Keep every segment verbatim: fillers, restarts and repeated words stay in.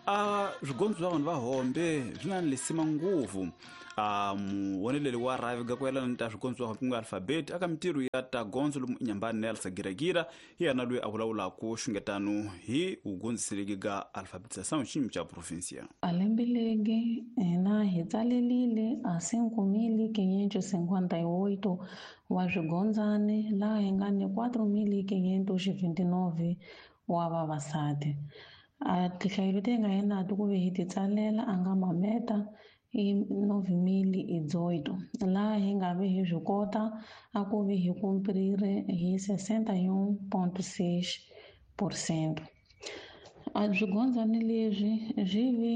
A swigondzo swa vanhu va hombe swi na lisima ngopfu a muwoneleli wa rhavi ga ku yelana ta swigondzo swa ku nga alfabeti aka mintirho ya ta gondzo lomu inyambani na Giregira hi yena loyi a vulavulaka xungetano hi vugondziseleki ga alfabetização xiyimo xa provinsia. A lembe legi hina hi tsalelile a cinco mil quinhentos cinquenta e oito wa swigondzani laha hi nga ni quatro mil quinhentos vinte e nove wa vavasati. A tinhlayo leti hi nga hi nato ku ve hi ti tsalela a nga mameta i nove mil e dezoito laha hi nga ve hi swi kota a ku ve hi cumprir hi sessenta e um ponto seis por cento. A swigondzani leswi swi vi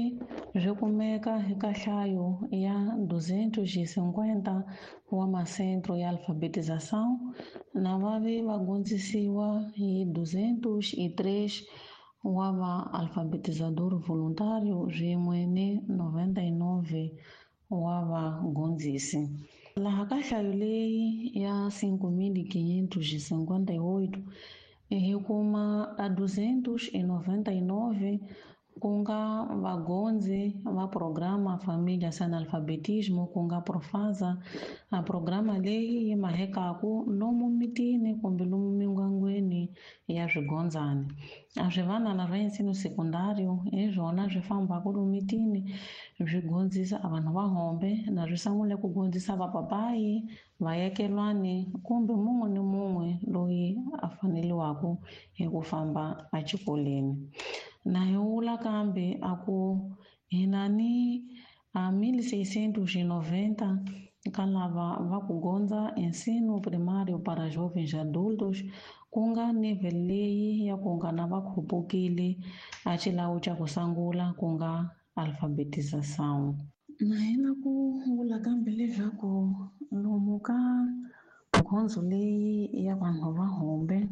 swi kumeka eka nhlayo ya duzentos e cinquenta wa masentro ya alfabetização na va ve va gondzisiwa hi duzentos e três wa va alfabetizador voluntário swin'we ni noventa e nove wa vagondzisi. Laha ka nhlayo leyi ya cinco mil quinhentos e cinquenta e oito hi kuma a duzentos e noventa e nove ku nga vagondzi va programa Família Sem Analfabetismo, ku nga Profasa, a programa leyi yi mahekaku lomu mitini kumbe lomu mindyangwini ya swigondzani. A swivanana swa ensino sekundário hi swona swi fambaka lomu mitini swi gondzisa a vanhu va hombe na swi sungule ku gondzisa vapapayi, vayakelwani kumbe mun'we ni mun'we loyi a faneliwaku hi ku famba exikolweni. Na hi vula kambe a ku hi na ni a mil seiscentos e noventa ka lava va ku gondza ensino primário para jovens adultos, ku nga nível leyi ya ku nga na va khupukile a xilawu xa ku sungula ku nga alfabetização. Na hina ku vula kambe leswaku lomu ka gondzo leyi ya vanhu va hombe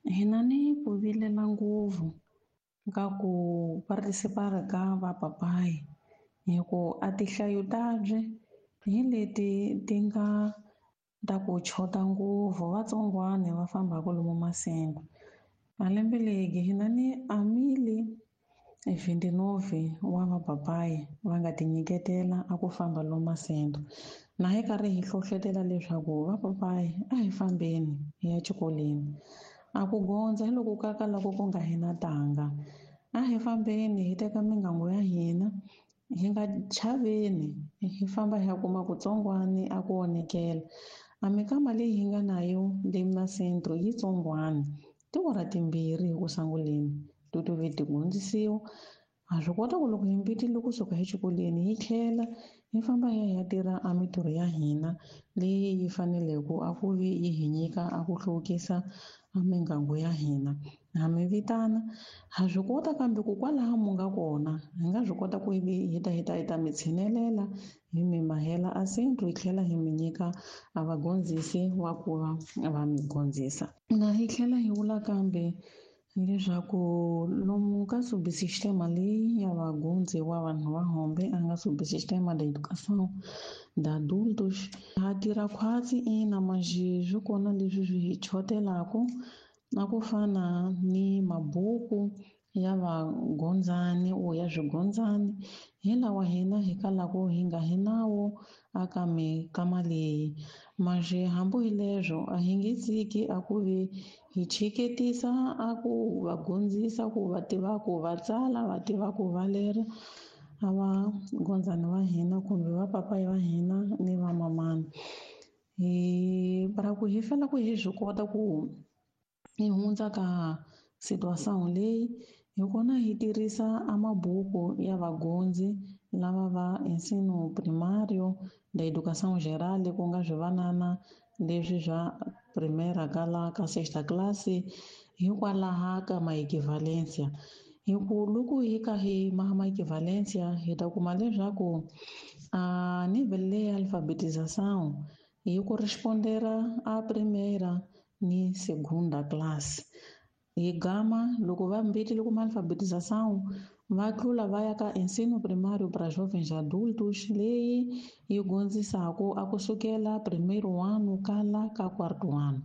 hi na ni ku vilela ngopfu ka ku participar ka vapapayi hi ku a tinhlayo tabye hi leti ti nga ta ku chota ngopfu vatsongwana va fambaka lomu masengo. A lembe legi hi na ni a mil vinte e nove wa vapapayi va nga tinyiketela a ku famba lomu masengo. Na hi karhi hi hlohlotela leswaku vapapayi a hi fambeni hi ya xikolweni. A ku gondza hi loko ka ka loko ku nga hina tanga. A hi fambeni hi teka mingangu ya hina hi nga chaveni hi famba hi ya kuma kutsongwani a ku onhekela. A mikama leyi hi nga na yo le masentro yi tsongwani tiawara timbirhi hi ku sunguleni to to ve ti gondzisiwa. Ha swi kota ku loko hi mbitile kusuka exikolweni hi tlhela hi famba hi ya hi ya tirha a mintirho ya hina leyi yi faneleke a ku vi yi hi nyika a ku hluvukisa a mingangu ya hina. Ha mi vitana ha swi kota kambe ku kwalaho mu nga kona hi nga swi kota ku vi hi ta hi ta hi ta mi tshinelela hi mi mahela a sentro hi tlhela hi mi nyika a vagondzisi wa ku va va mi gondzisa. Na hi tlhela hi vula kambe leswaku lomu ka subsistema leyi ya vagundzi wa vanhu va hombe a nga subsistema da educação da adultos ha tirha khwatsi ina manjhe swi kona leswi swi hi chotelaku na ku fana ni mabuku ya vagondzani o ya swigondzani hi lawa hina hi kalaku hi nga hi nawo aka mikama leyi. Manjhe hambi hi leswo a hi nge tshiki a ku vi hi chiketisa a ku va gondzisa ku va tiva ku va tsala va tiva ku va lera a va gondzani va hina kumbe va papayi va hina ni va mamana. Hi para ku hi fela ku hi swi kota ku hi hundza ka situação leyi hi kona hi tirhisa a mabuku ya vagondzi lava va ensino primário da educação geral ku nga swivanana leswi swa primeira ka la ka sexta classe hikwalaha ka maequivalência. Hi ku loko hi ka hi ma maequivalência hi ta kuma leswaku a nível leyi alfabetização yi correspondera a primeira ni segunda classe. Hi gama loko va mbitile kuma alfabetização va tlula va ya ka ensino primário para jovens adultos leyi yi gondzisaku a kusukela primeiro ano kala ka quarto ano.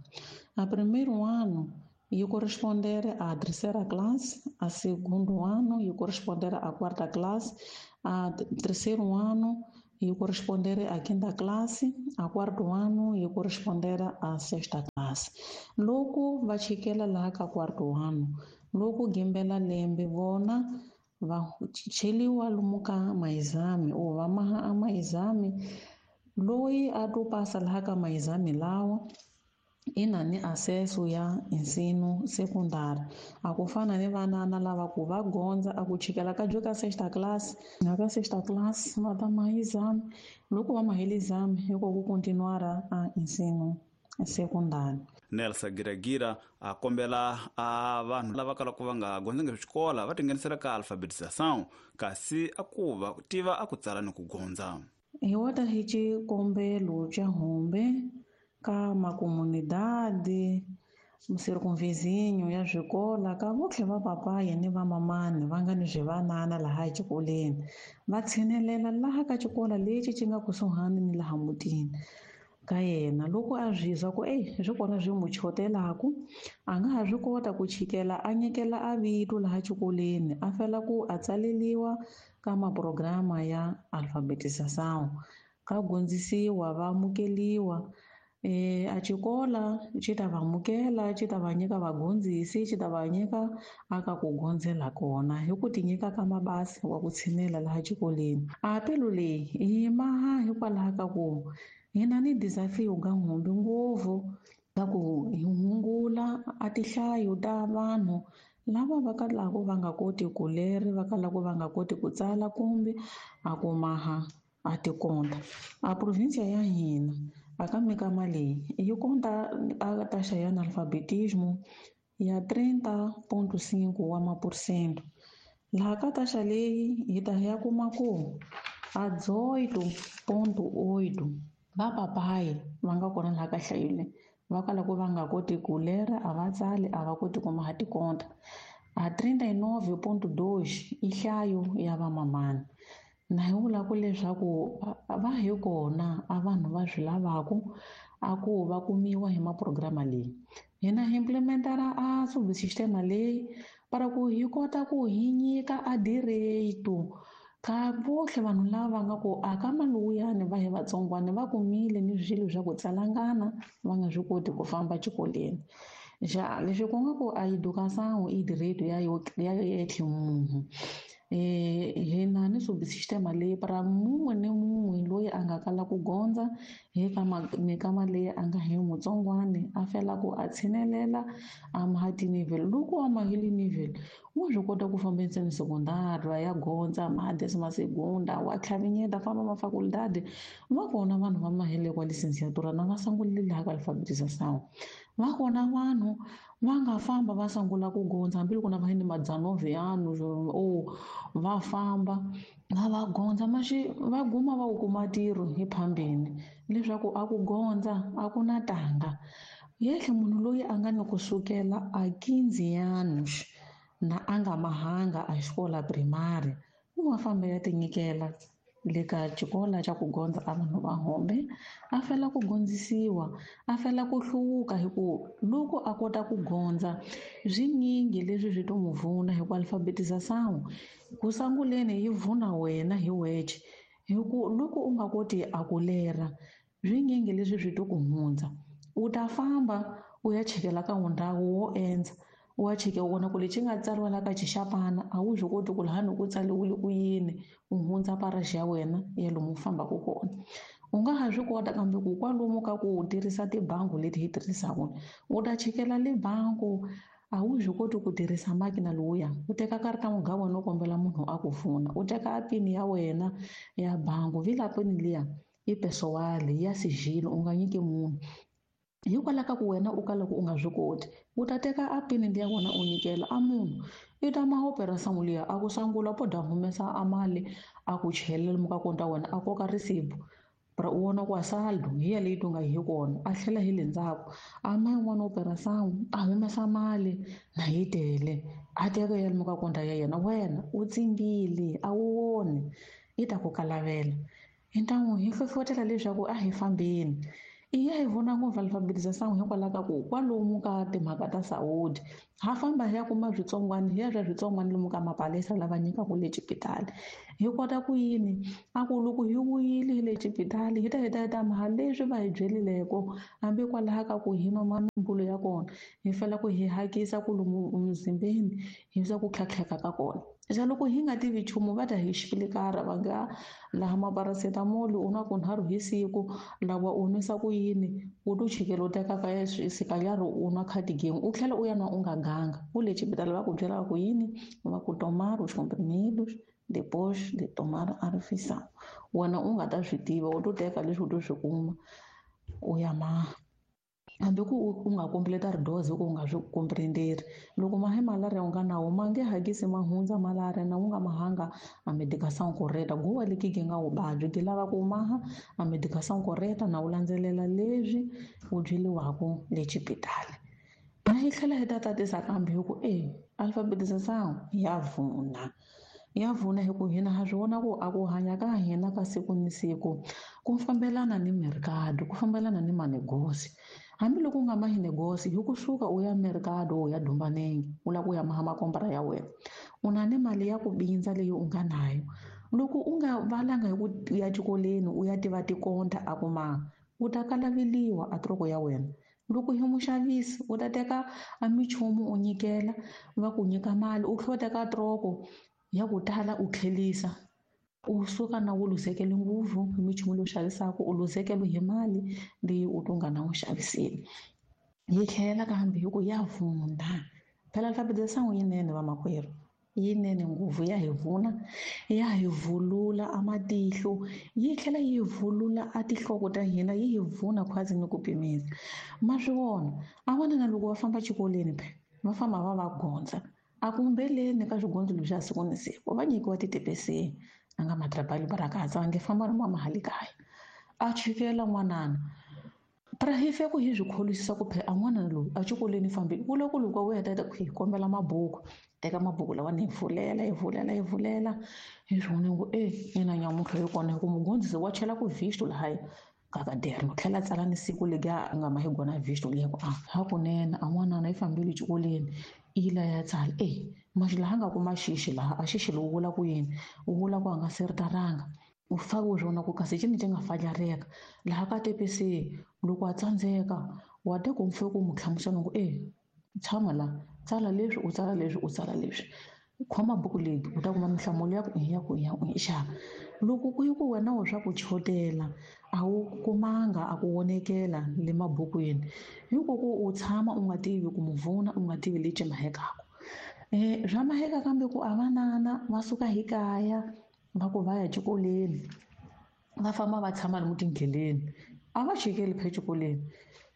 A primeiro ano yi correspondere à terceira classe, a segundo ano yi correspondere à quarta classe, a terceiro ano yi correspondere à quinta classe, a quarto ano yi correspondere à sexta classe. Loko va chikela laha ka quarto ano, loko gimbela lembe vona va cheliwa lomu ka maexame or va maha a maexame, loyi a to pasa laha ka maexame lawa i na ni acesso ya ensino secundário. A ku fana ni vanana lava ku va gondza a ku chikela ka ka sexta classe, na ka sexta classe va ta maha exame, loko va mahele exame hi ko ku continuar a ensino secundário. Nelson Giragira a kombela a vanhu lava kalaka va nga gondzangi xikolo va tinghenisela ka alfabetização, kasi a ku va tiva a ku tsala ni ku gondza. Hi wota hi xikombelo xa hombe ka makomunidade circunvizinho ya swikolo ka votlhe va papayi ni va mamani va nga ni swivanana laha exikolweni, va tshinelela laha ka xikolo lexi xi nga kusuhani ni laha mutini ka yena. Loko a swi twa ku ey swi kona swi n'wi chotelaku, a nga ha swi kota ku chikela a nyikela a vito laha xikolweni, a fela ku a tsaleliwa ka maprograma ya alfabetização, ka gondzisiwa va amukeliwa. E, a xikola xi ta va amukela, xi ta va nyika vagondzisi, xi ta va nyika aka ku gondzela kona hi ku ti nyika ka mabasi wa ku tshinela laha xikolweni. A pelu leyi yi maha hikwalaho ka ku hina ni desafio ga hombe ngopfu ka ku hi hungula a tinhlayo ta vanhu lava va kalaka va nga koti ku leri, va kalaka va nga koti ku tsala kumbe a ku maha a tikonta. A provinsia ya hina aka mikama leyi yi konta a taxa ya analfabetismo ya trinta ponto cinco wa maphesente. Laha ka taxa leyi hi ta ya kuma ku a dezoito ponto oito va papayi va nga kona laha ka nhlayo leyi va kalaka va nga koti ku lera, a va tsali, a va koti ku maha tikonta. A trinta e nove ponto dois i nhlayo ya vamamani. Na hi vula ku leswaku va hi kona a vanhu va swi lavaku a ku va kumiwa hi maprograma leyi. Hina hi implementara a subsistema leyi para ku hi kota ku hi nyika a direito ka votlhe vanhu lava va nga ku a ka maluyani va hi vatsongwana va kumile ni swilo swa ku tsalangana va nga swi koti ku famba xikolweni. Ja leswi ku nga ku a educação i direito ya yo ya yetlhe munhu. Eh hina ni subsistema leyi para mun'we ni mun'we loyi a nga kala ku gondza hi ka mikama leyi a nga hi mutsongwani a fela ku a tshinelela a maha ti-nivel. Loko a mahile nivel wa swi kota ku famba ensino secundário ya gondza maha décima segunda wa tlhavinyeta famba mafaculdade. Va kona vanhu va mahele kwa licenciatura na va sungulile laha ka alfabetização. Va kona vanhu va nga famba va sungula ku gondza hambiloko na va ni madzanove yanu o va famba va va gondza maxi va guma va wu kuma ntirho hi phambeni leswaku a ku gondza a ku na tanga. Yehle munhu loyi a nga ni kusukela a quinze anos na a nga mahanga a xikola primary u wa famba ya tinyikela le ka xikolo xa ku gondza a vanhu va hombe, a fela ku gondzisiwa, a fela ku hluvuka hi ku loko a kota ku gondza swinyingi leswi swi to n'wi pfuna hi ku alfabetização ku sunguleni yi pfuna wena hi wexe hi ku loko u nga koti a ku lera swinyingi leswi swi to ku hundza. U ta famba u ya chekela ka ndhawu wo endza wa cheke u vona ku lexi nga tsariwa la ka xixapana a wu swi koti ku lahani ku tsariwile ku yini u hundza paraxi ya wena ya lomu u fambaka kona. U nga ha swi kota kambe ku kwalomu ka ku tirhisa tibangi leti hi tirhisaka u ta chekela le bangi a wu swi koti ku tirhisa makina lowuya, u teka karata muga wena u kombela munhu a ku pfuna, u teka pin ya wena ya bangi vila pin liya i pessoal ya sigilo u nga nyiki munhu. Hikwalaho ka ku wena u kala ku u nga swi koti u ta teka a pin liya wena u nyikela a munhu i ta ma operação liya a ku sungula po da humesa a mali a ku chelela lomu ka konta wena a koka risibu para u vona ku a saldo hi ya leyi tu nga hi kona a tlhela hi le ndzhaku a ma yin'wana operação a humesa mali na yi tele a teka ya lomu ka konta ya yena wena u tsimbile a wu voni yi ta ku kalavela. Hi ntamu hi hlohlotela leswaku a hi fambeni I ya hi vona ngopfu alfabetização hikwalaho ka ku kwalomu ka timhaka ta saúde ha famba hi ya kuma switsongwana hi ya swa switsongwana lomu ka mapalesa lava nyikaka le xipitali. Hi kota ku yini a ku loko hi vuyile hi le xipitali hi ta hi ta hi ta maha leswi va hi byelileko hambi kwalaho ka ku hi nwa mimbulo ya kona hi fanele ku hi hakisa ku lomu mzimbeni hi swa ku tlhatlheka ka kona. Xa loko hi nga tivi nchumu va ta hi xipilikara va nga laha maparacetamol u nwa kunharhu hi siku lawa u nwisa ku yini u to chikela u teka ka sikalyaro u nwa cardigan u tlhela u ya nwa u nga ganga u le xipitali va ku byela ku yini va ku tomar os comprimidos depois de tomar a refeição wena u nga ta swi tiva u to teka leswi u to swi kuma u ya maha hambi ku u nga completa dose ku u nga swi comprenderi loko mahe malaria u nga nawo ma nge hakisi ma hundza malaria na u nga mahanga a medicação correta guwa leki nga u vabyi ti lava ku maha a medicação correta na u landzelela leswi u byeliwaka le xipitali. Na hi tlhela hi ta tatisa kambe hi ku e alfabetização ya vuna ya vuna hi ku hina ha swi vona ku a ku hanya ka hina ka siku ni siku ku fambelana ni mercado ku fambelana ni manegosi. Hambiloko u nga mahi negosi hi kusuka u ya mercado u ya Dumbanenge u lava ku ya maha makombra ya wena u na ni mali ya ku bindza leyi u nga nayo loko u nga valanga hi ku ya xikolweni u ya tiva tikonta a ku maha u ta kalaveliwa a troko ya wena. Loko hi muxavisi u ta teka a minchumu u nyikela va ku nyika mali u tlhela u teka troko ya ku tala u tlhelisa u suka na wu luzekele ngopfu hi minchumu leyi u xavisaka u luzekele hi mali leyi u to nga na wu xaviseni. Yi tlhela kambe hi ku ya vuna phela alfabetização yinene vamakwerhu yinene ngopfu ya hi vuna ya hi vulula a matihlo yi tlhela yi vulula a tinhloko ta hina yi hi vuna khwazi ni ku pimisa. Ma swi vona a vona na loko va famba xikolweni phe va famba va va gondza a kumbeleni ka swigondzo leswi siku ni siku va nyikiwa titepeseni a nga matrabali barakatsa va nge famba ri mahali kaya a chikela n'wanana pra hi fe ku hi swi kholisisa ku phe a n'wana loyi a xikolweni fambile ku loko loko u heta ku hi kombela mabuku teka mabuku lawa ni hi pfulela hi pfulela hi pfulela hi swi vona ku e ina nyamuntlha hi kona hi ku mugondzisi wa chela ku visto lahaya ka kaderno tlhela tsala ni siku legi a nga ma hi gona visto liya ku a hakunene a n'wanana yi fambile xikolweni i la ya tsala e maxi laha nga kuma xixi laha a xixi lowu vula ku yini wu vula ku a nga seritaranga u fake u swona ku kasi cini ci nga fajareka laha ka tepesi loko a tsandzeka wa te ku mfe ku mu hlamusela ku e tshama la tsala leswi u tsala leswi u tsala leswi khoma buku leyi u ta kuma minhlamulo ya ku ya ku ya ku xa loko ku yi ku wena wo swa ku chotela a wu kumanga a ku vonekela le mabukwini hiko ku u tshama u nga tivi ku muvuna u nga tivi lexi mahekaka eh swa maheka kambe ku a vanana va suka hi kaya va ku va ya xikolweni va famba va tshama lomu tindleleni a va chikeli phe xikolweni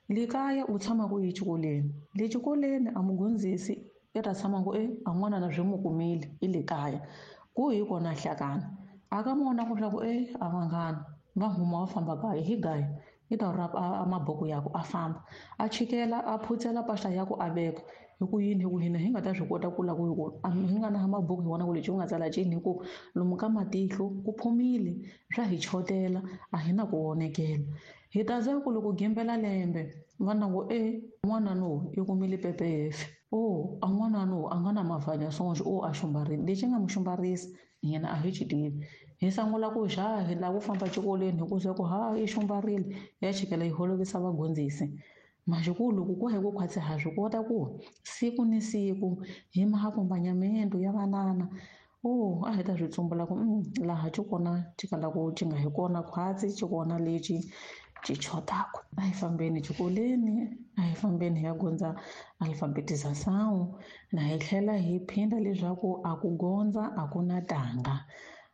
le kaya u tshama ku yi xikolweni le xikolweni a mugondzisi i ta tshama ku e a n'wana na swi mu kumile i le kaya ku hi kona hlakana a ka mona ku swa ku e a vanghana va huma va famba kaya hi gaya i ta rapa a mabuku ya ku a famba a chikela a phutsela pahla ya ku a veka hi ku yini hi ku hina hi nga ta swi kota ku la ku hi ku hi nga na mabuku hi vona ku lexi u nga tsala cini hi ku lomu ka matihlo ku phumile swa hi chotela a hi na ku vonekela hi ta za ku loko gembela lembe va na ku e n'wana no i kumile P P F o a n'wana no a nga na mavhanya sonje o a xumbarile lexi nga mu xumbarisa yena a hi xi tivi hi sungula ku xa hi lava ku famba xikolweni hi ku se ku ha i xumbarile ya chikela yi holovisa vagondzisi maxikulu loko ku hi ku khwatsi ha swi kota ku siku ni siku hi mahakombanyamento ya vanana o a hi ta swi tsumbula ku laha xi kona xi kala ku xi nga hi kona khwatsi xi kona lexi xi chotaka a hi fambeni xikolweni a hi fambeni hi ya gondza alfabetização na hi tlhela hi phinda leswaku a ku gondza a ku na tanga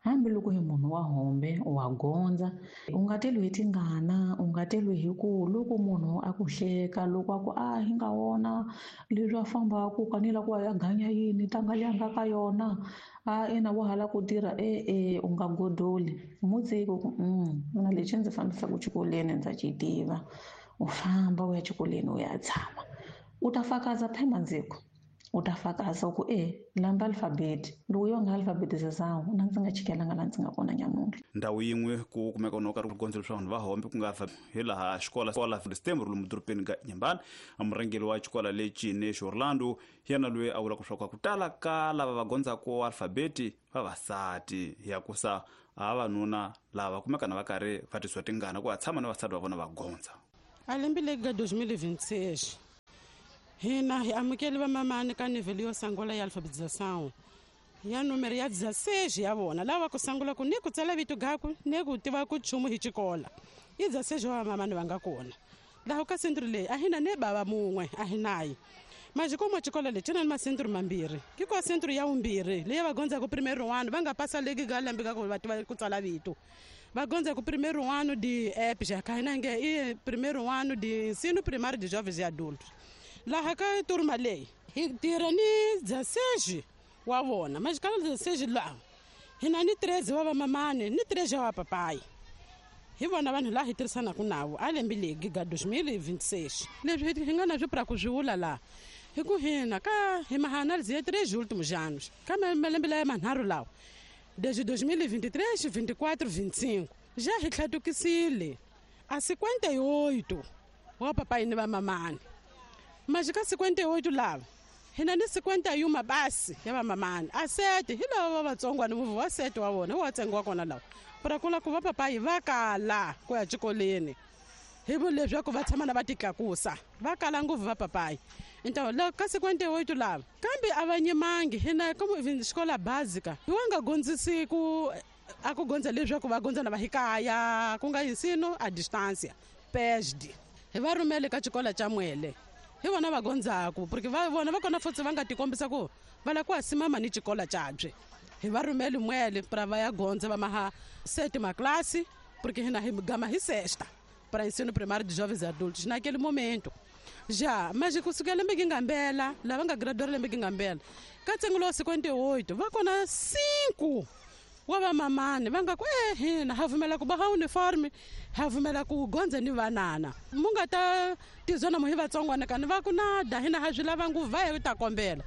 hambiloko hi munhu wa hombe wa gondza u nga teliwi hi tingana u nga teliwi hi ku loko munhu a ku hleka loko a ku a hi nga wona leswi a fambaku kanila ku a ya ganya yini tanga leyi a nga ka yona a ina wa hala ku tirha e e u nga godoli mutsiki ku mina lexi ndzi fambisaka xikolweni ndza xi tiva u famba u ya xikolweni u ya tshama u ta fakaza phema ndziko U ta fakaza ku e lamba alfabeti loko yo nga alfabetização na ndzi nga chikelanga la ndzi nga kona nyamuntlha. Ndhawu yin'we ku kumeka no karhi ku gondzo swa vanhu va hombe ku nga hi laha xikola xikola Stember lomu dorobeni ka Inhambane. A murhangeri wa xikola lexi Nexo Orlando yena loyi a vulaka leswaku ku tala ka lava va gondzaka alfabeti vavasati ya kusa a vavanuna lava kumeka na va karhi va tisiwa tingana ku va tshama na vasati va vona va gondza. A lembe leri ka twenty twenty-six hina hi amukele vamamani ka nível yo sungula ya alfabetização ya número ya dezesseis ya vona lava ku sungula ku ni ku tsala vito gaku ni ku tiva ku nchumu hi xikola i dezesseis wa vamamani va nga kona laha ka sentro leyi a hina ne bava mun'we a hi nayi mas como xikola lexi na masentro mambirhi ki kwa sentro ya vumbirhi leyi va gondzaka primeiro ano va nga pasa leki ka lembe ka ku va tiva ku tsala vito va gondza ku primeiro ano de E P já ka hina nge i primeiro ano de ensino primário de jovens e adultos laha ka turma leyi hi tirha ni dezesseis wa vona mas ka dezesseis laha hina ni treze wa vamamani ni treze wa papai hi vona vanhu laha hi tirhisanaka navo a lembe legi ga twenty twenty-six leswi hi nga na swi pra ku swi vula laha hi ku hina ka hi maanálise ya três últimos anos ka malembe laya manharhu lawa desde dois mil e vinte e três, vinte e quatro, vinte e cinco já hi tlhatukisile a cinquenta e oito wa papai ni vamamani mas ka cinquenta e oito lava hina ni cinquenta e uma basi ya vamamani a sete hi lava va vatsongwana muvi wa sete wa vona wa ntsengo wa kona lawa pra kula ku va papai va kala ku ya xikolweni hi vu leswaku va tshama na va titlakusa va kala ngopfu va papai então la ka cinquenta e oito lava kambe a va nyimangi hina como xikola básica hi wa nga gondzisi ku a ku gondza leswaku va gondza na va hikaya ku nga ensino a distância P E S D hi va rhumele ka xikola xa Mwele hi vona va gondzaku porque va vona va kona futhi va nga tikombisa ku va lava ku asimama ni xikola xabye hi va rhumele Mwele pra va ya gondza va maha sétima classe porque hina hi gama hi sexta para ensino primário de jovens e adultos naquele momento já mas kusukela lembe ngambela lava nga graduar lembe ngambela ka ntsengo lowa cinquenta e oito va kona cinco wa vamamani va nga ku e hina ha pfumela ku boha uniforme ha pfumela ku gondza ni vanana mu nga ta tizona mu hi vatsongwana kani va ku nada hina ha swi lava ngopfu va hi ta kombela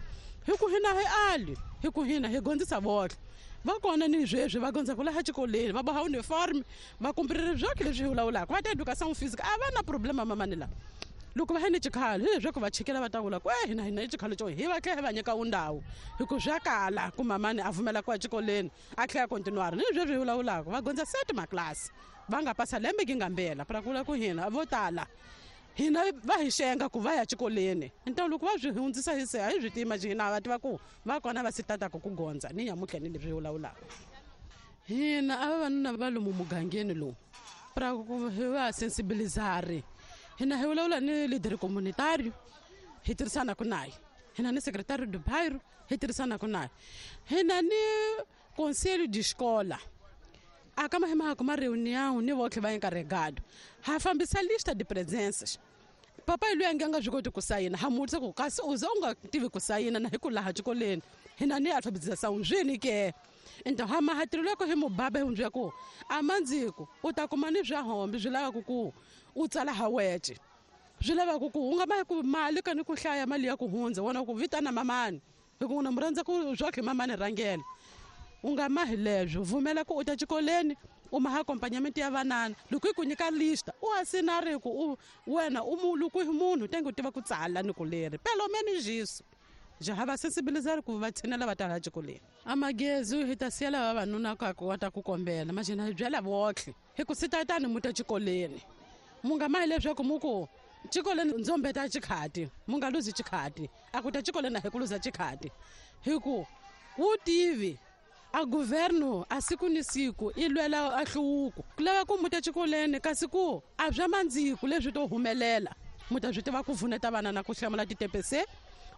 hi ku hina hi ali hi ku hina hi gondzisa vohle va kona ni sweswi va gondza ku laha xikolweni va boha uniforme va kumpiriri byoke leswi hi vulavulaka va ta educação física a va na problema mamani lava loko va hi ni xikhalo hi leswaku va chikela va ta vula ku e hina hina i xikhalo xo hi va tlhela hi va nyika wundhawu hi ku swa kala ku mamani a pfumela ku ya xikolweni a tlhela continuar ni leswi hi vulavulaka va gondza sétima classe va nga pasa lembe ki ngambela pra ku vula ku hina vo tala hina va hi xenga ku va ya xikolweni então loko va swi hundzisa hi se a hi swi tima hina va tiva ku va kona va si tataka ku gondza ni nyamuntlha ni leswi hi vulavulaka hina a vavanuna va lomu mugangeni lowu pra ku hi va sensibilizari hina hi vulavula ni leader communitario hi tirhisanaka naye hina ni secretario do bairro hi tirhisanaka naye hina ni conselho de escola a kama hi mahaka ma reunião ni votlhe va encarregado ha fambisa lista de presenças papai loyi a nge a nga swi koti ku sayina ha mutisa ku kasi u ze u nga tivi ku sayina na hi ku laha xikolweni hina ni alfabetização swini ke então ha mahatirelo ya ku hi mubaba hi hundzia ku a mandziku u ta kuma ni swa hombe swi lavaka ku u tsala ha wece swi lavaka ku u nga ma ku mali ka ni ku hlaya mali ya ku hundza wona ku vitana mamani hi ku na mu rhandza ku swa khe mamani rhangela u nga mahi leswo pfumela ku u ta xikolweni u maha accompagnamento ya vanana loko yi ku nyika lista u asinari ku u wena u mu loko hi munhu tenge u tiva ku tsala ni ku leri pelo menos isso já ha va sensibilizar ku va tshinela va ta laha xikolweni a magezi hi ta siya lava vavanuna ka ku va ta ku kombela mas hina hi byela votlhe hi ku sitatani mu ta xikolweni mu nga mahi leswaku mu ku xikolweni ndzo mbeta xikhati mu nga luzi xikhati a ku ta xikolweni a hi ku luza xikhati hi ku wu tivi a governo a siku ni siku i lwela a hluvuko ku lava ku muta xikolweni kasi ku a bya mandziku leswi to humelela mu ta swi tiva ku pfuneta vana na ku hlamula ti-T P C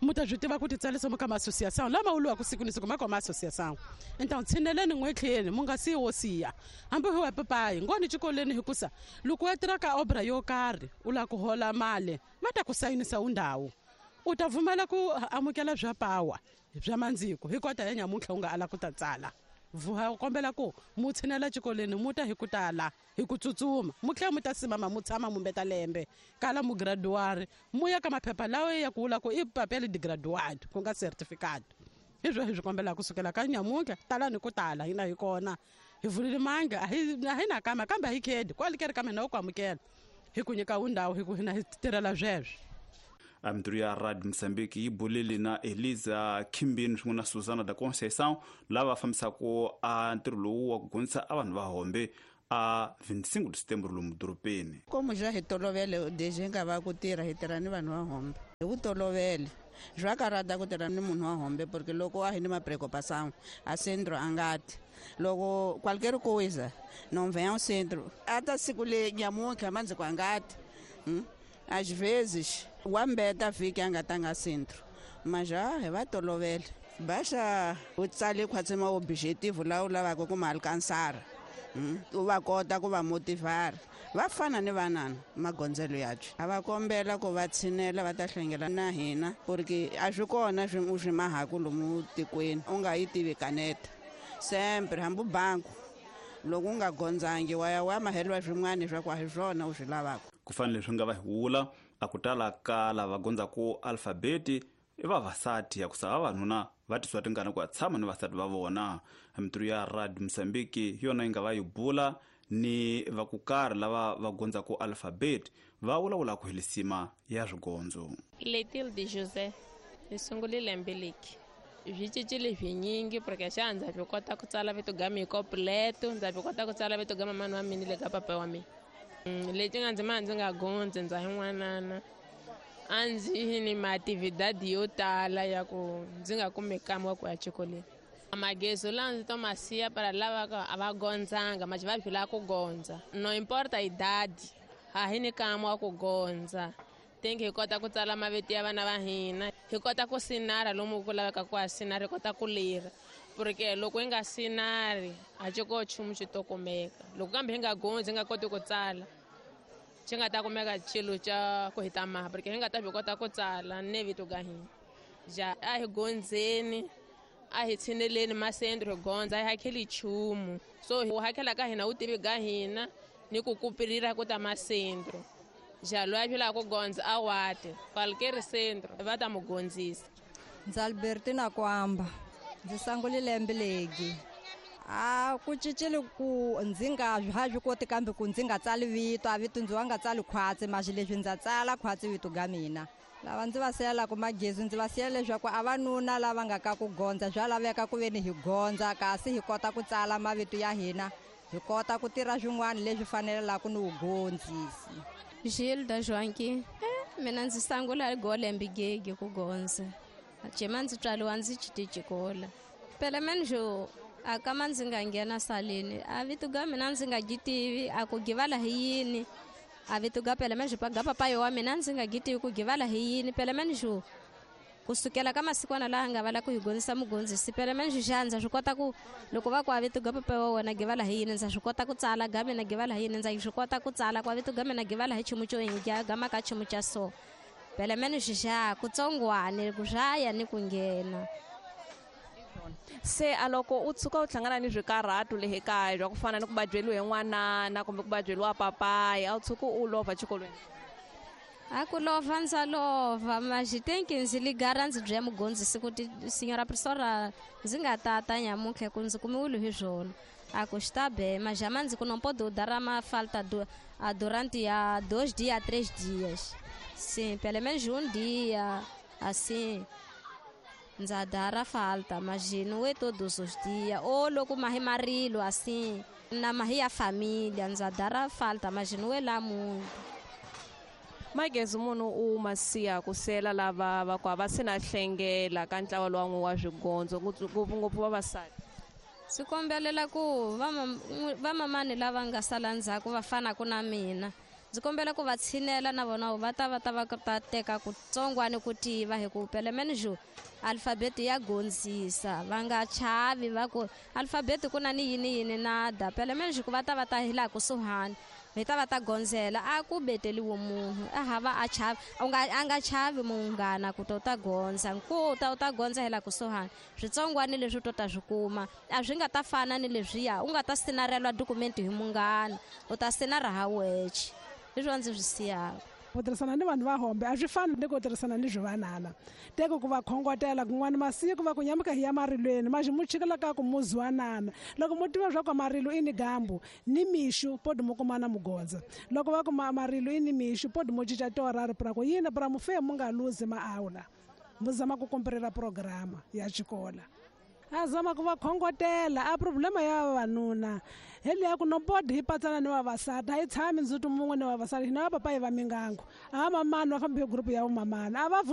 mu ta swi tiva ku ti tsarisa mu ka ma-associação lama wuliwaka siku ni siku ma ka ma-associação então tshineleni n'wetlheni mu nga siyi wo siya hambi hi wa papayi ngoni xikolweni hikusa loko wa tirha ka obra yo karhi u lava ku hola mali va ta ku sayinisa wundhawu u ta pfumela ku amukela bya pawa bya mandziko hi kota ya nyamuntlha u nga ala ku ta tsala vuha kombela ku mu tshinela xikolweni mu ta hi ku tala hi ku tsutsuma mu tlhela mu ta simama mu tshama mu mbeta lembe kala mu graduari mu ya ka maphepha lawa ya ku vula ku i papel de graduado ku nga certificate. Hi swo hi swi kombelaka kusukela ka nyamuntlha talani ku tala hina hi kona hi vulile manga a hi a hi na kama kambe a hi khedi kwale ke ri ka mina u ku amukela hi ku nyika undhawu hi ku hina hi tirhela sweswo. Mintirho ya Radio Mozambique yi bulile na Eliza Khimbini swin'we na Susana da Conceição lava fambisaka a ntirho lowu wa ku gondzisa a vanhu va hombe a vinte e cinco de setembro lomu dorobeni. Como já hi tolovele desde hi nga va ku tirha hi tirha ni vanhu va hombe hi ku tolovele swa karata ku tirha ni munhu wa hombe porque loko a hi ni mapreocupação a centro a nga ti loko qualquer coisa não vem ao centro ata siku le nyamuntlha mandzi ku a nga ti hmm? Às vezes wa mbeta vhiki a nga tanga centro mas já hi va tolovele basta u tsale khwatsi ma objetivo lawa u lavaka ku ma alcançar u va kota ku va motivar va fana ni vanana magondzelo yabyo a va kombela ku va tshinela va ta hlengela na hina porque a swi kona swi u swi mahaku lomu tikweni u nga yi tivi kaneta sempre hambi banku loko u nga gondzangi wa ya wa maheliwa swin'wana swa ku a hi swona u swi lavaka. Ku fanele swi nga va hi wula a ku tala ka lava gondzaku alfabeti i vavasati ya ku sa vavanuna va tisiwa tingana ku ya tshama ni vasati va vona. Mintirho ya Radio Mozambique hi yona yi nga va yi bula ni va ku karhi lava va gondzaku alfabeti va vulavula ku helisima ya swigondzo. Letilde José ni sungule lembe leki swi cincile swinyingi porque xa ndza swi kota ku tsala vito ga mina completo ndza swi kota ku tsala vito ga mamani wa mina le ka papa wa mina. Leti nga ndzi ma ndzi nga gondzi ndza hi n'wanana a ndzi ni maatividadi yo tala ya ku ndzi nga kumi kama wa ku ya xikolweni. Magezo lawa ndzi to ma siya para lava a va gondzanga ma va swi lava ku gondza no importa idadi a hi ni kama wa ku gondza think hi kota ku tsala mavito ya vana va hina hi kota ku sinara lomu ku laveka ku a sinara hi kota ku lira porque loko hi nga sinari a xi ko nchumu xi to kumeka loko kambe hi nga gondzi hi nga koti ku tsala xi nga ta kumeka xilo xa ku hi ta maha porque hi nga ta swi kota ku tsala ne vito ga hina ja a hi gondzeni a hi tshineleni masendro hi gondza a hi hakeli nchumu so ku hakela ka hina wu tivi ga hina ni ku kupirira ku ta masendro ja loyi a swi lava ku gondza a wate qualquer centro va ta mu gondzisa. Ndzi Albertina Kwamba ndzi sungule lembe legi a ku cincile ku ndzi nga ha swi koti kambe ku ndzi nga tsali vito a vito ndzi wa nga tsali khwatsi maxi leswi ndza tsala khwatsi vito ga mina lava ndzi va siyelaka magezi ndzi va siyela leswaku a vanuna lava nga ka ku gondza swa laveka ku veni hi gondza kasi hi kota ku tsala mavito ya hina hi kota ku tirha swin'wana leswi fanelaka ni vugondzisi. Gilda Joanqui eh, mina ndzi sungula golembe gege ku gondza jema ndzi tswariwa ndzi xikola pele menjo a kama ndzi nga nghena saleni a vito ga mina ndzi nga gitivi a ku givala hi yini a vito ga pele menjo pa ga papayo wa mina ndzi nga gitivi ku givala hi yini pele menjo kusukela ka masikwana laha nga vala ku hi gondzisa mugondzisi pele menjo xa ndza swi kota ku loko va ku a vito ga papa wa wena givala hi yini ndza swi kota ku tsala ga mina givala hi yini ndza swi kota ku tsala ku a vito ga mina givala hi chumu xo ingya ga maka chumu xa so pele menjo xa kutsongwane ku swaya ni ku nghena. Se a loko u tshuka u hlangana ni swikarhatu le ekaya bya ku fana ni ku badyeliwa hi n'wanana kumbe ku badyeliwa papayi a wu tshuki u lovha xikolweni? A ku lovha ndza lovha maxi tenki ndzi ligara ndzi byela mugondzisi ku ti senhora professora ndzi nga tata nyamuntlha ku ndzi kumiwile hi swona a ku xi ta be majama ndzi ku não pode dar uma falta do, a durante a dois dias a três dias sim pelo menos um dia assim ndza dara falta mas não é todos os dias ou loko mahi marilo assim na mahi ya família ndza dara falta mas não é lá muito. Magezi munhu u ma siya ku sela lava va ku a va se na hlengela ka ntlawa lowu wa swigondzo ngopfungopfu vavasati. Swi kombelela ku vamamani lava nga sala ndzhaku va fanaka na mina ndzi kombela ku va tshinela na vona va ta va ta va ta teka kutsongwani ku tiva hi ku pele menjo alfabeti ya gondzisa va nga chavi va ku alfabeti ku na ni yini yini nada pele menjo ku va ta va ta hi laha kusuhani mi ta va ta gonzela a ku beteliwe munhu a hava a chavi u nga a nga chavi munghana ku ta u ta gondza nku ta u ta gondza hela kusuhani switsongwani leswi u to ta swi kuma a swi nga ta fana ni leswiya u nga ta sinarelwa dokumenti hi munghana u ta sinara ha wexe leswi a ndzi swi siyaka. Ku tirhisana ni vanhu va hombe a swi fani ni ku tirhisana ni swivanana teko ku va khongotela kun'wana masiku va ku nyamuka hi ya marilweni maxi mu chikela ka ku muziwanana loko mu tiva swa ku marilo i ni gambu ni mixu podi mu kumana mugondza loko va ku marilo i ni mixu podi mu cinca tiorari pra ku yini pra mu fe mu nga luzi maawula mu zama ku komperela programa ya xikola a zama ku va khongotela a problema ya vavanuna hi leya ku nobodi hi patsana ni vavasati a yi tshami ndzhuti mun'we ni vavasati hina va papa hi va mingango a va mamani va fambi hi gurupu ya vumamani a va